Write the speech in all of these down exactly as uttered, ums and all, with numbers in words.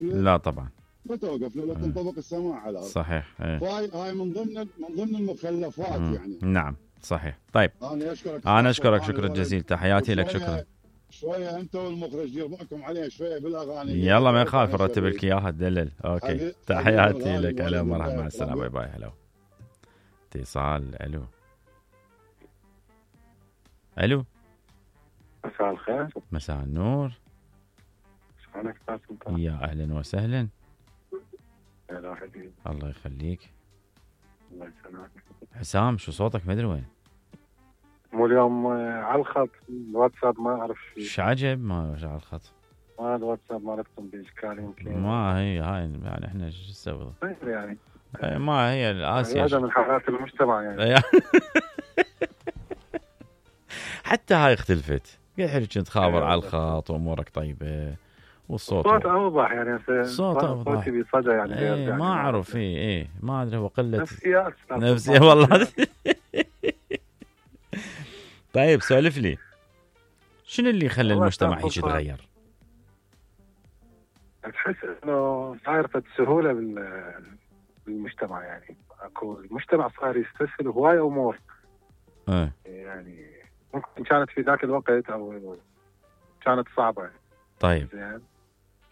لا طبعا ما توقف له، لا ايه تنطبق السماء على الارض. صحيح ايه فهاي هاي من ضمن من ضمن المخلفات مم. يعني. نعم صحيح. طيب انا اشكرك انا استاذ اشكرك سلطان شكرا الولد. جزيلا، تحياتي لك، شكرا. وشويه شويه انت والمخرج دير بالكم عليه شويه بالاغاني اللي يلا ما ذكرت يخالف عنها نرتب لك شريف. اياها تدلل. اوكي حبيب- حبيبي تحياتي الغالي لك، هلا الولد مرحبا، مع انت السلامه، باي طبعا. باي. هلا اتصال. الو الو مساء الخير. مساء النور. شلونك استاذ سلطان؟ يا اهلا وسهلا. هلا حبيبي. الله يخليك. الله يسلمك. حسام شو صوتك ما ادري وين. مو اليوم آه، على الخط الواتساب ما اعرف شيء. ايش عجب ما على الخط. ما الواتساب مالتكم باشكال يمكن. ما هي هاي يعني احنا شو نسوي غير يعني إيه، ما هي الاسيا هذا من حالات المجتمع يعني. حتى هاي اختلفت. قاعد حلو كنت خابر أيوة. على الخط وامورك طيبه والصوت الصوت اوضح يعني هسه صوت أوضح. صوتي بصدى يعني غير ايه يعني ما اعرف ايه ايه ما ادري هو قله نفسيات أستاذ نفسي سلطان. والله. طيب سولف لي شنو اللي خلى والله المجتمع أستاذ هيك سلطان. يتغير؟ تحس انه صاير فد سهوله بال- بالمجتمع يعني. اكو المجتمع صار يستسهل هواي امور ايه يعني ممكن كانت في ذاك الوقت او كانت صعبه. طيب زين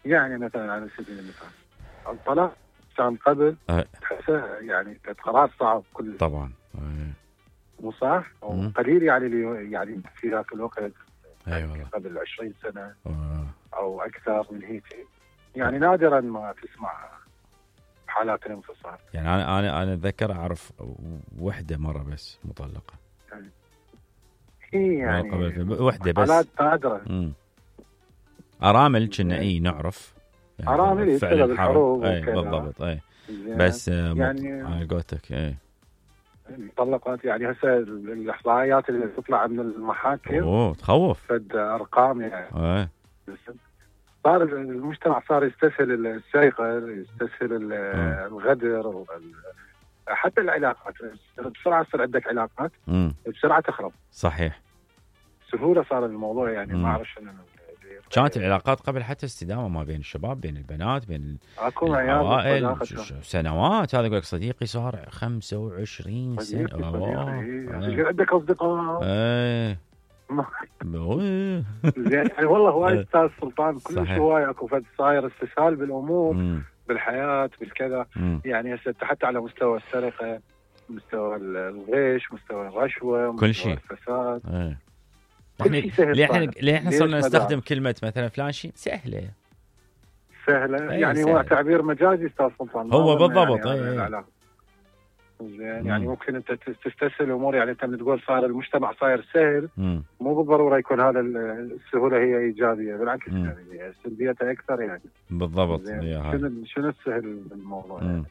يعني مثلا على سبيل المثال الطلاق كان قبل أه. تحسه يعني كانت قرار صعب كل طبعا ايه مو صح او مم. قليل يعني اللي يعني في ذاك الوقت اي والله قبل عشرين سنه آه. او اكثر من هيك يعني نادرا ما تسمع حالات الانفصال. يعني انا انا انا اتذكر اعرف وحده مره بس مطلقه. هي يعني قبل وحده بس. حالات نادره. امم ارامل كنا اي نعرف يعني ارامل فعل الحرب اي وكذا. بالضبط اي بس يعني يعني على قولتك اي المطلقات يعني هسه الاحصائيات اللي تطلع من المحاكم اوه تخوف. فد ارقام يعني اي صار المجتمع صار يستسهل السرقه، يستسهل الغدر ال- حتى العلاقات بسرعه تصير عندك علاقات امم بسرعه تخرب. صحيح. سهوله صار الموضوع يعني مم. ما اعرف شنو. كانت العلاقات قبل حتى استدامه ما بين الشباب بين البنات بين اكو عيال العوائل ش- ش- سنوات. هذا يقول لك صديقي صار خمسة وعشرين سنه. يصير عندك اصدقاء ايه زين يعني والله هواي استاذ سلطان كل شوي اكو فد صاير استسهال بالامور مم. بالحياه بالكذا. مم. يعني هسه حتى على مستوى السرقه، مستوى الغش، مستوى الرشوه، كل مستوى شيء. الفساد. ايه كل شيء سهل. ليه احنا ليه احنا صرنا ليش نستخدم كلمه مثلا فلان شيء سهله سهله أيه يعني سهل. هو تعبير مجازي استاذ سلطان. هو بالضبط. يعني ايه زين يعني ممكن انت تستسهل الامور. يعني انت من تقول صار المجتمع صاير سهل مم. مو بالضروره يكون هذا السهوله هي ايجابيه، بالعكس مم. يعني سلبيتها اكثر يعني. بالضبط. شنو شنو السهل بالموضوع يعني.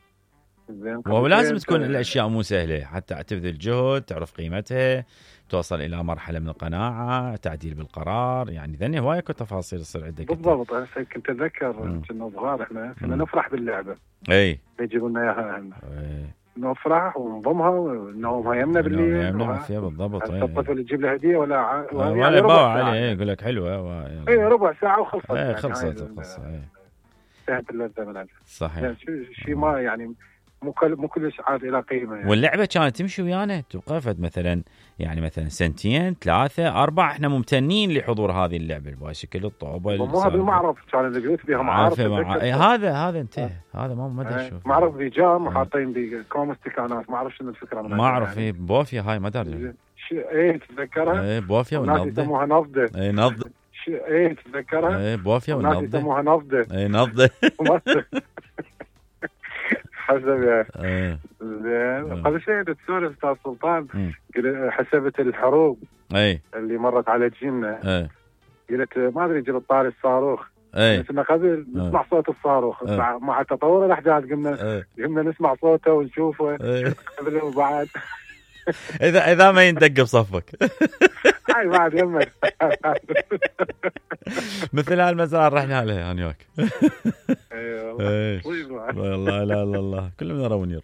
زين ولازم تكون الاشياء مو سهله حتى تبذل جهد، تعرف قيمتها، توصل الى مرحله من القناعه، تعديل بالقرار. يعني ذني هوايه اكو تفاصيل تصير عندك. بالضبط. انا كنت اتذكر كنا صغار احنا كنا نفرح باللعبه. اي يجيبوا لنا اياها اهلنا. اي نفرح ونضمها ونومها يمنا بالليل. يمنا فيها بالضبط. اي الطفل يجيب له هديه ولا ع... ولا يعني باع عليه يقول لك حلوه و... اي ربع ساعه وخلصت. اي يعني خلصت القصه. اي انتهت اللذه من عندها. صحيح. يعني شيء ما يعني مو كل مو كلش عاد الى قيمه يعني. واللعبه كانت تمشي ويانا توقفت مثلا يعني مثلا سنتين ثلاثه اربع احنا ممتنين لحضور هذه اللعبه البايسكل الطوبه مو هذا المعرض كان البيوت بها معارض. مع... هذا هذا انتهى. هذا ما ما ادري شو معرض بيجام وحاطين بكوم استكانات. ما اعرف شنو الفكره. ما اعرف. ايه بوفيا هاي ما ادري. ايه تتذكرها؟ ايه بوفيا والناس ونفضه. يسموها نفضه. ايه نفضه. ايه تتذكرها؟ ايه بوفيا والناس ونفضه. يسموها نفضه. ايه نفضه. حسب يعني. ايه زين قبل شيء تسولف استاذ سلطان حسبت الحروب ايه اللي مرت على جيلنا. ايه قلت ما ادري جرى طاري الصاروخ. ايه كنا قبل نسمع ايه. صوت الصاروخ. ايه. مع, مع تطور الاحداث قمنا ايه. قمنا نسمع صوته ونشوفه. ايه. قبل وبعد. اذا اذا ما يندق بصفك. هاي بعد يمك. مثل هالمزرعه رحنا لها انا وياك. اي والله. والله لا لا الله كل من يرى ونير.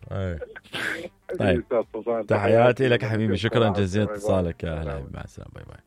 طيب تحياتي تحياتي لك حبيبي. شكرا جزيلا اتصالك. يا هلا مع السلامه. باي باي.